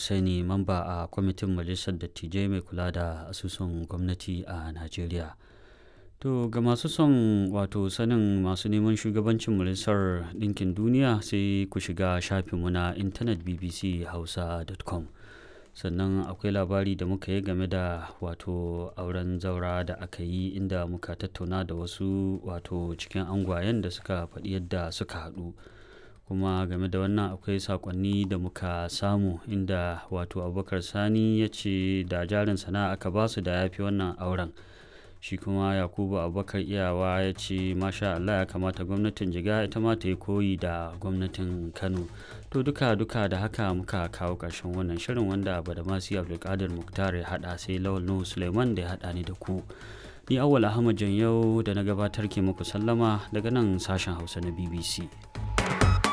Hussaini, mamba a kwamitin Majalisar Dattijai mai kula da asusun gwamnati a Najeriya. To ga masu son wato sanin masu neman shugabancin Majalisar Ɗinkin Duniya, sai ku shiga shafinmu na intanet bbchausa.com. Sannan akwai labari da muka yi game da wato auren zaura da aka yi, inda muka tattauna da wasu wato cikin angwayen da suka faɗi yadda suka haɗu. Kuma game da wannan akwai saƙonni da muka samu, inda wato Abubakar Sani ya ce da jarin sana'a aka basu da ya fi wannan auren. Shi kuma Yakubu Abubakar Iyawa ya ce masha Allah, ya kamata gwamnatin Jigawa ita ma ta yi koyi da gwamnatin Kano. To duka duka da haka muka kawo ƙarshen wannan shirin wanda Badamasi Abdulkadir Muktar ya haɗa, sai Lawal Nuhu Suleiman da ya haɗa ni da ku. Ni Awwal Ahmad Janyau da na gabatar ke muku sallama daga nan sashen Hausa na BBC.